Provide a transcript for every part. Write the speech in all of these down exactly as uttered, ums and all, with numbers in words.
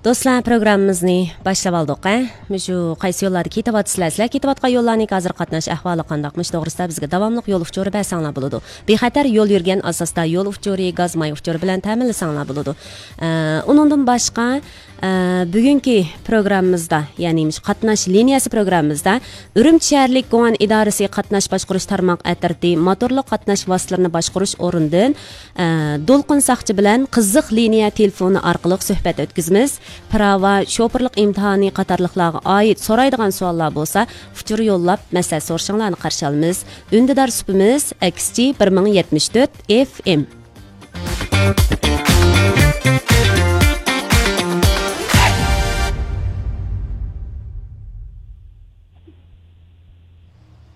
دوستلار، پروگراممىمىزنى باشلاپ ئالدۇق، ھە؟ مۇشۇ قايسى يوللاردا كېتىۋاتىسىلەر؟ سىلەر كېتىۋاتقان يوللارنىڭ ھازىر قاتناش ئەھۋالى قانداق؟ مۇشۇ توغرىسىدا بىزگە داۋاملىق يول ئۇچۇرى بەرسەڭلار بولىدۇ. بىخەتەر يول يۈرگەن ئاساستا يول ئۇچۇرى، گاز ماي ئۇچۇرى بىلەن تەمىنلىسەڭلار بولىدۇ. ئە، ئۇنىڭدىن باشقا، ئە، بۈگۈنكى پروگراممىمىزدا، يەنى مۇشۇ قاتناش لىنىيەسى پروگراممىمىزدا ئۈرۈمچى شەھەرلىك گۇڭئەن ئىدارىسى قاتناش باشقۇرۇش تارماق ئەترىتى موتورلۇق قاتناش ۋاسىتىلىرىنى باشقۇرۇش ئورنىدىن ئە، دولقۇن ساقچى بىلەن قىزىق لىنىيە تېلېفونى ئارقىلىق سۆھبەت ئۆتكۈزىمىز. پىراۋا، شوپۇرلۇق ئىمتىھانى قاتارلىقلارغا ئائىت سورايدىغان سوئاللار بولسا، ئۇچۇر يوللاپ مەسلىھەت سورىشىڭلارنى قارشى ئالىمىز. ئۈندىدار سۈپىمىز، ئەكسىچە، بىر مىڭ يەتمىش تۆت ئېف ئېم.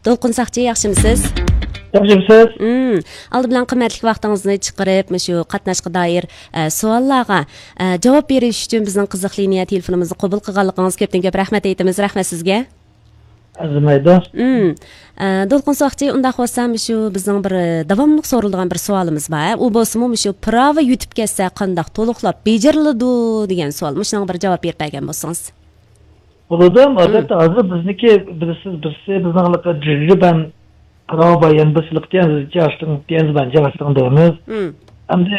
دولقۇن ساقچى، ياخشىمۇسىز؟ ياخشىمۇسىز؟ مم. ئالدى بىلەن قىممەتلىك ۋاقتىڭىزنى چىقىرىپ، مۇشۇ قاتناشقا دائىر، ئە، سوئاللارغا، ئە، جاۋاب بېرىش ئۈچۈن بىزنىڭ قىزىق لىنىيە تېلېفونىمىزنى قوبۇل قىلغانلىقىڭىزغا كۆپتىن كۆپ رەھمەت ئېيتىمىز. رەھمەت سىزگە. ئەرزىمەيدۇ. مم. ئە، دولقۇن ساقچى، ئۇنداق بولسا، مۇشۇ بىزنىڭ بىر، ئە، داۋاملىق سورىلىدىغان بىر سوئالىمىز بار. ئۇ بولسىمۇ، مۇشۇ پىراۋا يۈتۈپ كەتسە، قانداق تولۇقلاپ بېجىرىلىدۇ دېگەن سوئال. مۇشۇنىڭغا بىر جاۋاب بېرىپ بەرگەن بولسىڭىز. بولىدۇ. ئەلۋەتتە، ھازىر بىزنىڭكى بىلىسىز، بىرسى بىزنىڭ ھېلىقى جۈجۈبەن پىراۋا بار، يەنە بىرسى ھېلىقى تيەنزى جياڭشىڭ، تيەنزىبەن جياڭشىڭ دەيمىز. مم. ئەمدى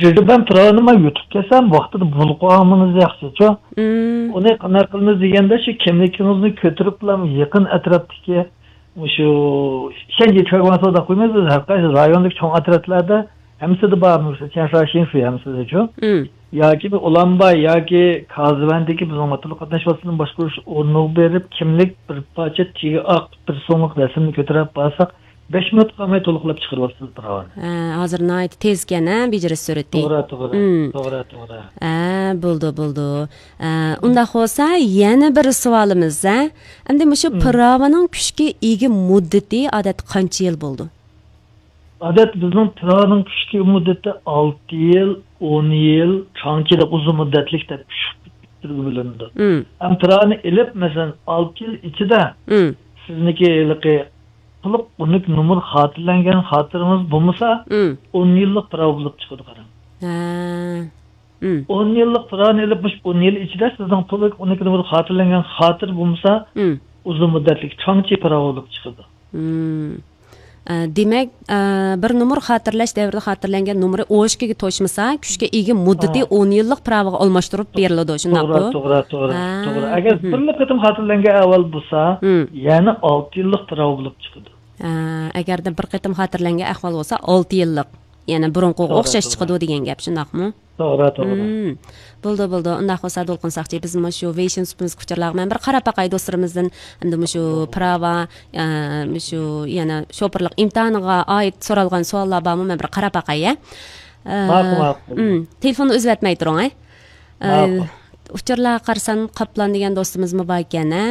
جۈجۈبەن پىراۋىنى مانا يۈتۈپ كەلسەم، ۋاقتىدا بۇلۇپ قالغىنىمىز ياخشىچۇ. مم. ئۇنى قانداق قىلىمىز دېگەندە، شۇ كىملىكىڭىزنى كۆتۈرۈپلا يېقىن ئەتراپتىكى مۇشۇ شەنجى چۈەنگۇاڭ سودا قويمايمىز بىز، ھەر قايسى رايوندىكى چوڭ ئەترەتلەردە ھەممىسىدە بار، مۇشۇ چيەنشاۋ شىنفۇ ھەممىسىدە شۇ. مم. ياكى بىر ئۇلانباي ياكى كازىۋەندىكى بىزنىڭ موتورلۇق قاتناش ۋاسىتىلىرىنى باشقۇرۇش ئورنىغا بېرىپ، كىملىك بىر پارچە تېگى ئاق بىر سوملۇق رەسىمنى كۆتۈرۈپ بارساق، بەش مىنۇت قالماي تولۇقلاپ چىقىرىۋاتىسىز پىراۋىنى. ھە، ھازىر ناھايىتى تېزكەن، ھە، بېجىرىش سۈرئىتى. توغرا، توغرا، مم. توغرا، توغرا. ھە، بولدى، بولدى. ھە، ئۇنداق بولسا، يەنە بىر سوئالىمىز، ھە. ئەمدى مۇشۇ مم. پىراۋىنىڭ كۈچكە ئىگە مۇددىتى ئادەتتە قانچە يىل بولىدۇ؟ ئادەتتە بىزنىڭ پىراۋىنىڭ كۈچكە مۇددىتى ئالتە يىل، ئون يىل، چاڭچى دەپ ئۇزۇن مۇددەتلىك دەپ ئۈچ تۈرگە بۆلۈنىدۇ. مم. ئەمما پىراۋىنى ئېلىپ، مەسىلەن، ئالتە يىل ئىچىدە مم. سىزنىڭكى ھېلىقى تولۇق ئون ئىككى نومۇر خاتىرىلەنگەن خاتىرىڭىز بولمىسا، مم. ئون يىللىق پىراۋا بولۇپ چىقىدۇ، قاراڭ. ھە. مم. ئون يىللىق پىراۋىنى ئېلىپ، مۇشۇ ئون يىل ئىچىدە سىزنىڭ تولۇق ئون ئىككى نومۇر خاتىرىلەنگەن خاتىرە بولمىسا، مم. ئۇزۇن مۇددەتلىك چاڭچى پىراۋا بولۇپ چىقىدۇ. مم. ئە، دېمەك، ئە، بىر نومۇر خاتىرىلەش دەۋرىدە خاتىرىلەنگەن نومۇرى ئون ئىككىگە توشمىسا، كۈچكە ئىگە مۇددىتى ھە. ئون يىللىق پىراۋىغا ئالماشتۇرۇپ بېرىلىدۇ، شۇنداققۇ؟ توغرا، توغرا، توغرا، ھە، توغرا. ئەگەر مم. بىرلا قېتىم خاتىرىلەنگەن ئەھۋال بولسا، مم. يەنە ئالتە يىللىق پىراۋا بولۇپ چىقىدۇ. ھە، ئەگەردە بىر قېتىم خاتىرىلەنگەن ئەھۋال بولسا، ئالتە يىللىق، يەنە بۇرۇنقىغا توغرا، ئوخشاش توغرا. چىقىدۇ دېگەن گەپ، شۇنداقمۇ؟ توغرا، توغرا. مم. بولدى، بولدى. ئۇنداق بولسا، دولقۇن ساقچى، بىز مۇشۇ ۋېيشىن سۇپىمىز ئۇچۇرلارغا مەن بىر قاراپ باقاي دوستلىرىمىزدىن. ئەمدى مۇشۇ پىراۋا، ئە، مۇشۇ يەنە شوپۇرلۇق ئىمتىھانىغا ئائىت سورالغان سوئاللار بارمۇ؟ مەن بىر قاراپ باقاي، ئە. ئە، ماقۇل، ماقۇل. مم. تېلېفوننى ئۈزۈۋەتمەي تۇرۇڭ، ئە. ئە، ماقۇل. ئۇچۇرلارغا قارىسام، قاپلان دېگەن دوستىمىزمۇ بار ئىكەن، ئە.